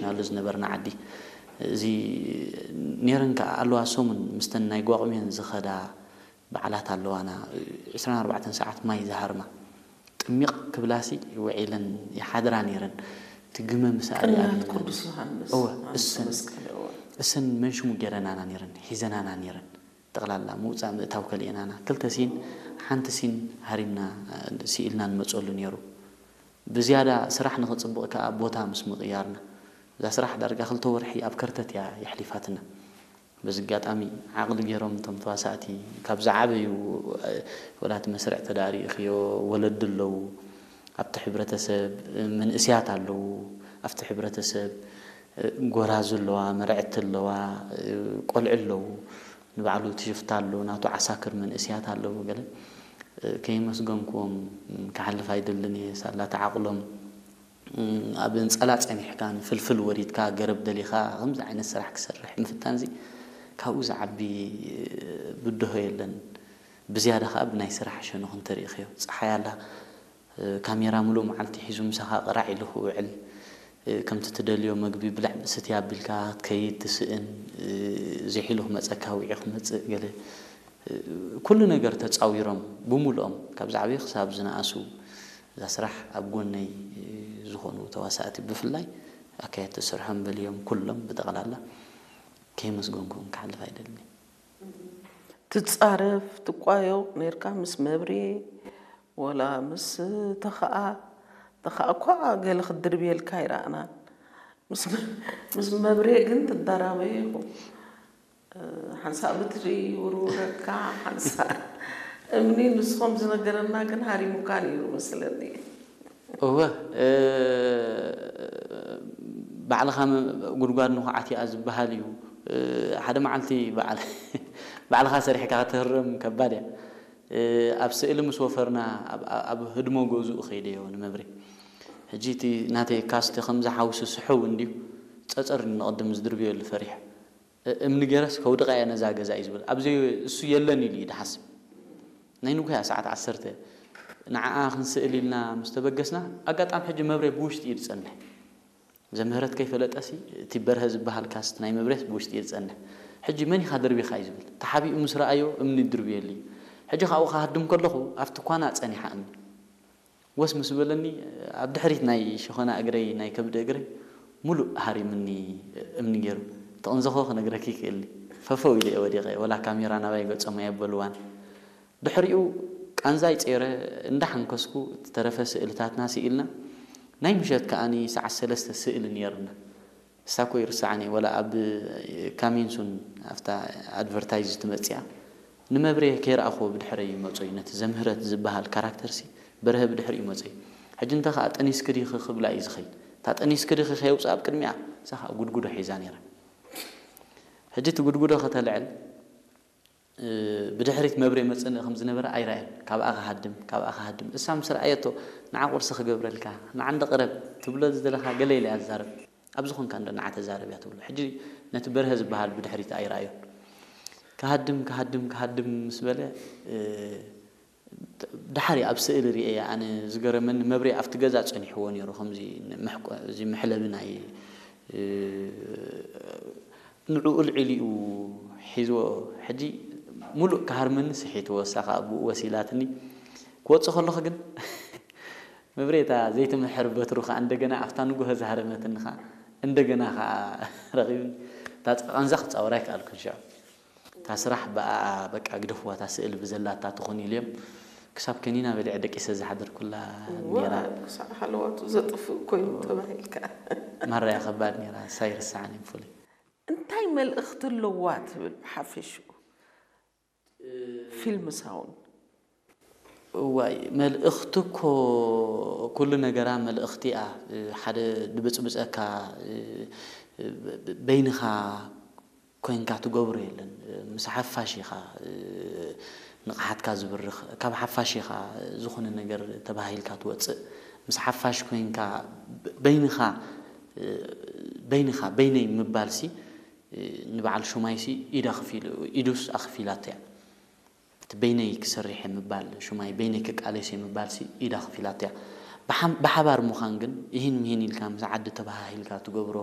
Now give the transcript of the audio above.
ናሉ ዝነበርና ዓዲ። እዚ ነይረን ከዓ ኣለዋ። ሰሙን ምስተን ናይ ጓቑሜን ዝኸዳ በዓላት ኣለዋና። ዕስራን ኣርባዕተን ሰዓት ማይ ዝሃርማ ጥሚቕ ክብላሲ ውዒለን ይሓድራ ነይረን። እቲ ግመ ምስ ኣርኣያ ቅንያት ግን ቅዱስ ዮሃንስ እወ፣ ማንሰ እሰን መስቀል እወ። እሰን መንሽሙ ገይረናና ነይረን፣ ሒዘናና ነይረን። ጠቕላላ ምውፃእ ምእታው ከልኤናና ክልተ ሲን ሓንቲ ሲን ሃሪምና ስኢልና ንመፀሉ ነይሩ። ብዝያዳ ስራሕ ንኽፅብቕ ከዓ ቦታ ምስ ምቕያርና እዛ ስራሕ ዳርጋ ክልተ ወርሒ ኣብ ከርተት እያ የሕሊፋትና። በዚ ኣጋጣሚ ዓቕሊ ገይሮም እቶም ተዋሳእቲ ካብ ዝዓበዩ ወላቲ መስርዕ ተዳሪእኽዮ ወለዲ ኣለዉ ኣብቲ ሕብረተሰብ መንእስያት ኣለዉ ኣብቲ ሕብረተሰብ ጎራዙ ኣለዋ መርዕቲ ኣለዋ ቆልዑ ኣለዉ ንባዕሉ ትሽፍታ ኣሎ ናቱ ዓሳክር መንእስያት ኣለዉ ገለ ከይመስገንክዎም ክሓልፍ ኣይደልን እየ ሳላ ተዓቕሎም ኣብ እንጸላ ጸኒሕካ ንፍልፍል ወሪድካ ገረብ ደሊኻ ከምዚ ዓይነት ስራሕ ክሰርሕ ምፍታን እዚ ካብኡ ዝዓቢ ብድሆ የለን። ብዝያዳ ከኣ ብናይ ስራሕ ሸነኹ እንተሪእኽዮ ጸሓይ ኣላ ካሜራ ሙሉእ መዓልቲ ሒዙ ምሳኻ ቅራዕ ኢሉ ክውዕል ከምቲ ትደልዮ መግቢ ብላዕ ስትይ ኣቢልካ ክትከይድ ትስእን ዝሒሉ ክመጸካ ውዒ ክመጽእ ገለ ኩሉ ነገር ተጻዊሮም ብሙሉኦም ካብ ዝዓበዩ ክሳብ ዝነኣሱ እዛ ስራሕ ኣብ ጎነይ ዝኾኑ ተዋሳእቲ ብፍላይ ኣካየድቲ ስርሖም በልዮም ኩሎም ብጠቕላላ ከየመስገንኩም ክሓልፍ ኣይደልን። ትጻረፍ ትቋየቕ ነርካ ምስ መብሬ ወላ ምስ ተኸኣ ተኸኣ እኳ ገለ ክትድርብየልካ ኣይረኣናን ምስ መብሬ ግን ትዳራበዩ ኢኹም ሓንሳእ ብትሪ ይውርውረካ ሓንሳእ እምኒ ንሱ ከም ዝነገረና ግን ሃሪሙካ ነይሩ መስለኒ። እወ ባዕልኻ ጉድጓድ ንኹዓት እያ ዝበሃል እዩ። ሓደ መዓልቲ ባዕልኻ ሰሪሕካ ክትህረም ከባድ እያ። ኣብ ስእሊ ምስ ወፈርና ኣብ ህድሞ ገዝኡ ከይደዮ ንመብሬ። ሕጂ እቲ ናተይ ካስቲ ከምዚ ሓውሲ ስሕው እንድዩ ጸጸር ንቕድም ዝድርብየሉ ፈሪሐ። እምኒ ገይረስ ከውድቓ እየ ነዛ ገዛ እዩ ዝብል። ኣብዚ እሱ የለን ኢሉ እዩ ድሓስብ። ናይ ንጉሆ እያ ሰዓት ዓሰርተ ንዓኣ ክንስእል ኢልና ምስ ተበገስና ኣጋጣሚ ሕጂ መብሬ ብውሽጢ እዩ ዝጸንሕ። ዘምህረት ከይፈለጠሲ እቲ በርሀ ዝበሃል ካስት ናይ መብሬስ ብውሽጢ እዩ ዝጸንሕ። ሕጂ መን ኢኻ ደርቢኻ እዩ ዝብል። ተሓቢኡ ምስ ረኣዮ እምኒ ይድርብየሉ እዩ። ሕጂ ካብኡ ክሃድም ከለኹ ኣብቲ ኳና ጸኒሓ እምኒ። ወስ ምስ በለኒ ኣብ ድሕሪት ናይ ሸኾና እግረይ ናይ ከብዲ እግረይ ሙሉእ ሃሪምኒ እምኒ ገይሩ። ተቐንዘኾ ክነግረኪ ይክእል ፈፈው ኢለ እየ ወዲቐ ወላ ካሜራ ናባይ ገጾም ኣየበልዋን። ድሕሪኡ ቃንዛይ ጸይረ እንዳሓንከስኩ ዝተረፈ ስእልታትና ስኢልና ናይ ምሸት ከኣ ሰዓት ሰለስተ ስእሊ ነይርና። እሳ እኮ ይርሳዕን እየ ወላ ኣብ ካሚንሱን ኣብታ ኣድቨርታይዝ ትመጽእ እያ ንመብሬ ከይረኣኽዎ ብድሕረይ ይመጾ እዩ ነቲ ዘምህረት ዝበሃል ካራክተርሲ በርሀ ብድሕሪኡ ይመጾ እዩ ሕጂ እንተ ከኣ ጠኒስኪ ዲኺ ክብላ እዩ ዝኸይድ እታ ጠኒስኪ ዲኺ ከየውጽእ ኣብ ቅድሚኣ እሳ ከኣ ጉድጉዶ ሒዛ ነይራ ሕጂ እቲ ጉድጉዶ ከተልዕል ብድሕሪት መብሬ መጽንኢ ከም ዝነበረ ኣይረኣየን። ካብኣ ክሃድም፣ ካብኣ ክሃድም። እሳ ምስ ረኣየቶ፣ ንዓ ቁርሲ ክገብረልካ፣ ንዓ እንዶ ቅረብ ትብሎ ዝደለኻ ገለ ኢላ እያ ትዛረብ። ኣብዚ ኾንካ እንዶ ንዓ ተዛረብ እያ ትብሎ። ሕጂ ነቲ በርሀ ዝበሃል ብድሕሪት ኣይረኣዮን። ክሃድም፣ ክሃድም፣ ክሃድም ምስ በለ፣ ደሓር እየ ኣብ ስእሊ ርእየያ። ኣነ ዝገረመኒ መብሬ ኣብቲ ገዛ ጸኒሕዎ ነይሩ፣ ከምዚ እዚ መሕለቢ ናይ ንዕኡ ኣልዒሉ እዩ ሒዝዎ። ሕጂ ሙሉእ ክሃርመኒ ስሒትዎ፣ እሳ ከኣ ብኡ ወሲላትኒ። ክወጽእ ከለኹ ግን መብሬ እታ ዘይትምሕር በትሩ ከኣ እንደገና ኣብታ ንጉሆ ዝሃረመትኒ ከኣ እንደገና ከኣ ረኺቡኒ። እታ ቃንዛ ክጻወራ ኣይከኣልኩን ሽዑ። እታ ስራሕ ብኣኣ በቃ ግደፍዋ እታ ስእሊ ብዘላታ ትኹን ኢለዮም። ክሳብ ከኒና በሊዐ ደቂሰ ዝሓደርኩላ ነይራ። ክሳዕ ሃለዋቱ ዘጥፍእ ኮይኑ ተባሂልካ። ማራ እያ ከባድ ነይራ፣ ንሳ ኣይርሳዕን እየ ብፍሉይ። እንታይ መልእኽቲ ኣለዋ ትብል ብሓፈሽኡ ፊልም ሳውን? እዋይ መልእኽቲ እኮ ኩሉ ነገራ መልእኽቲ እያ። ሓደ ድብጽብጸካ በይንኻ ኮይንካ ትገብሮ የለን። ምስ ሓፋሽ ኢኻ ንቕሓትካ ዝብርኽ፣ ካብ ሓፋሽ ኢኻ ዝኾነ ነገር ተባሂልካ ትወጽእ። ምስ ሓፋሽ ኮይንካ በይንኻ በይንኻ በይነይ ምባልሲ ንበዓል ሹማይሲ ኢዳ ከፊሉ ኢዱስ ኣኽፊላቶ እያ። እቲ በይነይ ክሰርሕ እየ ምባል፣ ሹማይ በይነይ ክቃለስ እየ ምባልሲ ኢዳ ኣኽፊላቶ እያ። ብሓባር ምዃን ግን እሂን ምሂን ኢልካ ምስ ዓዲ ተበሃሂልካ ትገብሮ